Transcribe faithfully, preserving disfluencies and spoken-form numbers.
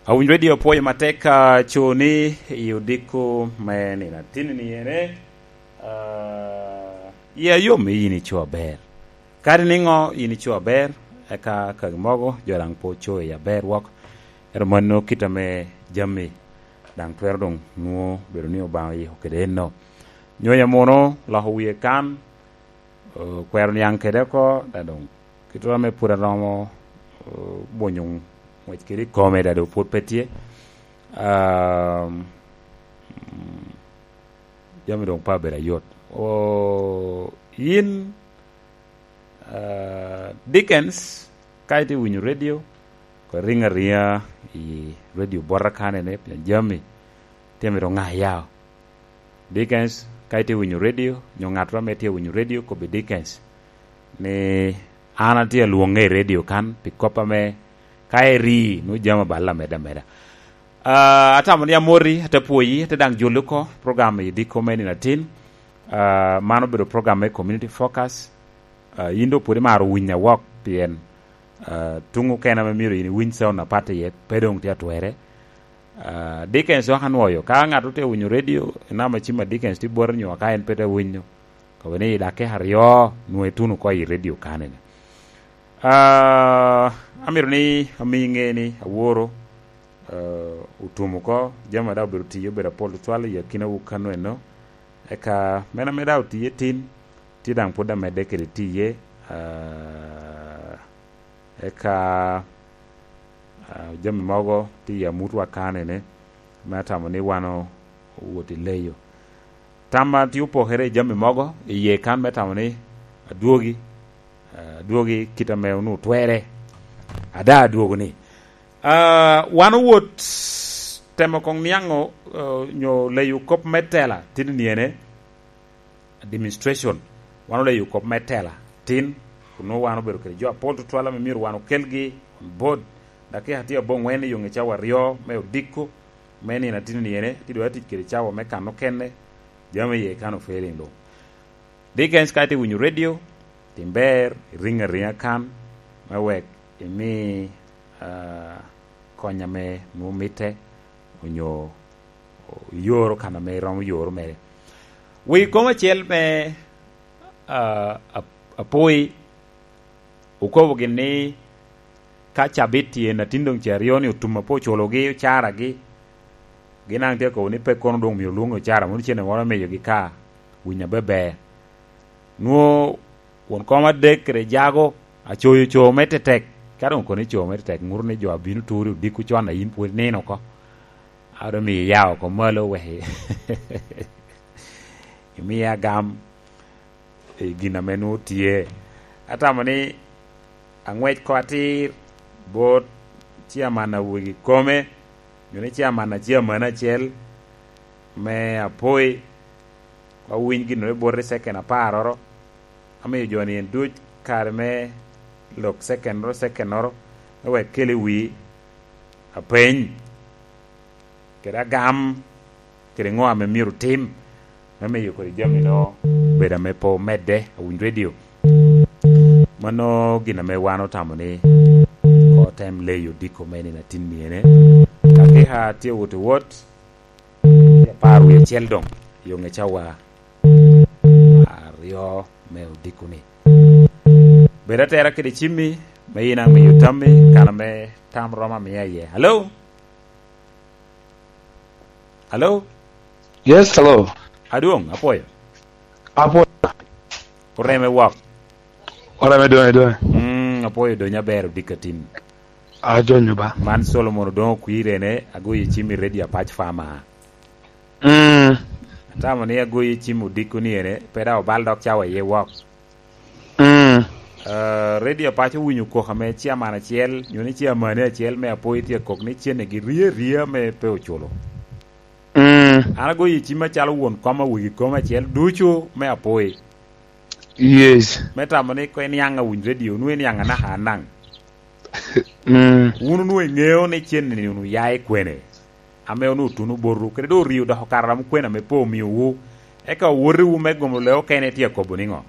Awinyo redio apwoyo matek, ah, co ni i odiko me nino atin ni ene, ah, ya yom i yin ico aber. Kadi niŋo yin ico aber, eka kagi mogo jo daŋ pe oco i aber wok. Ero mano kit ame jami daŋ twero doŋ nwo bedo ni Obaŋa oyiko kede enno. Nyonya mono loko wie kan, eh, kwero niaŋ kede oko, da doŋ kit ame pwod aromo, eh, bwonyo ngwec kede i kome, da doŋ pwod pe tye. Um, mm, jami doŋ pe abedo ayot. O, yin, ah, Dickens, ka itye winyo redio, ko riŋ ariŋa i redio bota kanene, pien jami tye mito ŋa yao. Dickens, ka itye winyo redio, nyo ŋat ame tye winyo redio, kobbi Dickens ni, "An atye alwoŋe i redio kan, pi kop ame ka eri, nwoŋo jami aballe ameda ameda." Ah, atamo ni amoti, ate pwoyi, ate daŋ joli oko program i diko me nino atin. Ah, man obedo program me Community Focus. Ah, yin doŋ pwod imaro winyo awok, pien, ah, tuŋ okene ame myero yin iwiny sound apat iye, pe doŋ tye atwere. Ah, Dickens dok anwoyo. Ka ŋat otye winyo redio, inama cim a Dickens tye bwote nyo ka en pe te winyo, kobo ni i dakika aryo nwoŋo ituno oko i redio kanene. Ah, amito ni ami ŋe ni aworo, ah, otum oko, jami a daŋ obedo tiyo obedo apol tutwal i akinawu kano eno. Eka meno ame daŋ otiye tin, tye daŋ pwod amedde kede tiye, ah, eka, ah, jami mogo tye i amutwa kanene, me atamo ni wan o-, owot i leyo. Tamma tye opokere i jami mogo, i ye kan me tamo ni adwogi, ah, adwogi kit ame onwoŋo twerre. Ada adwogo ni, ah, wan owot temo koŋ niaŋo, ah, nyo leyo kop me tela, tini ni ene, administration. Wan oleyo kop me tela tin, kun nwoŋo wan obedo kede jo apol tutwal ame myero wan okelgi on board. Dakika tye aboŋwen i yoŋe cawa aryo me odiko, me nino atino ni ene, tye doŋ atic kede cawa me kan okene, jami iye kan ofailing luŋ. Dickens, ka itye winyo redio, tim ber, iriŋ ariŋa kan, me wek imi, ah, kony ame nwoŋo mitte, onyo iyoro kan ame iromo yoro mere. Wi kom acel me, ah, ap-, apoi, okobo gin ni ka cabit tye, natin doŋ ce aryo ni otum apo oculogi, ocaragi, gin daŋ tye akobo ni pe kono doŋ myero lwoŋi ocara, mono cene moro miyogi ka winyo abeber. Nwoŋo won kom adek kede jago, acoyo co me tetek. Ka doŋ kono ico me tetek, ŋuto ni jo a bino turi odiko con a yin pwod inino oko. A doŋ miyo iya oko malo wek i-, imiya gam i gin ame nwoŋo tye. Atamo ni aŋwec ko atir bot ciaman a wegi kome, nyo ni ciaman a ciaman acel me apoi, awiny gin ame bot i second aparoro, amiyo jo-ni en duc kare me lok secondoro, secondoro, me wek kel i wi apeny, kede agam, kede ŋo ame myero tim, me miyo kodi jami no bedo ame pe omedde, awiny redio. Mano gin ame wan otamo ni otem leyo diko me nino atin myene. Dakika tye wot i wot, tye apar wie acel doŋ, yoŋe cawa aryo me odiko ni. Bed atera kede cimmi, me yin amiyo tammi, kan ame tam romo amiya iye. Hello? Hello? Yes, hello. Adwoŋ, apwoyo. Apwoyo. Oreme wok. Oreme doŋe, doŋe. Mm, apwoyo doŋe aber odikatin. Ajonyo ba. Man Solomon Odoŋo Kwirene, agoyo cim i Radio Apac Farmer. Mm. Atamo ni agoyo cim odiko ni ene, pe daŋ obal dok cawa iye wok. Mm. Ah, Radio Apac owinyo kok ame ciaman acel, nyo ni ciamani acel me apoi tye kok ni cene gi rye rye ame pe oculo. Mm. An agoyo i cim acalo won kom awegi kom acel ducu me apoi. Yes. Me tamo ni ko iniaŋ awiny radio, nwoŋo iniaŋ anaka anaŋ. Mm. Wun onwoŋo iŋeo ni cen-ni onwoŋo ya i kwene, ame onwoŋo otuno botwu, kede doŋ orio dok okato ram kwene ame pe omiowu. Eka owotiwu me gomo lee okene tye akobo niŋo?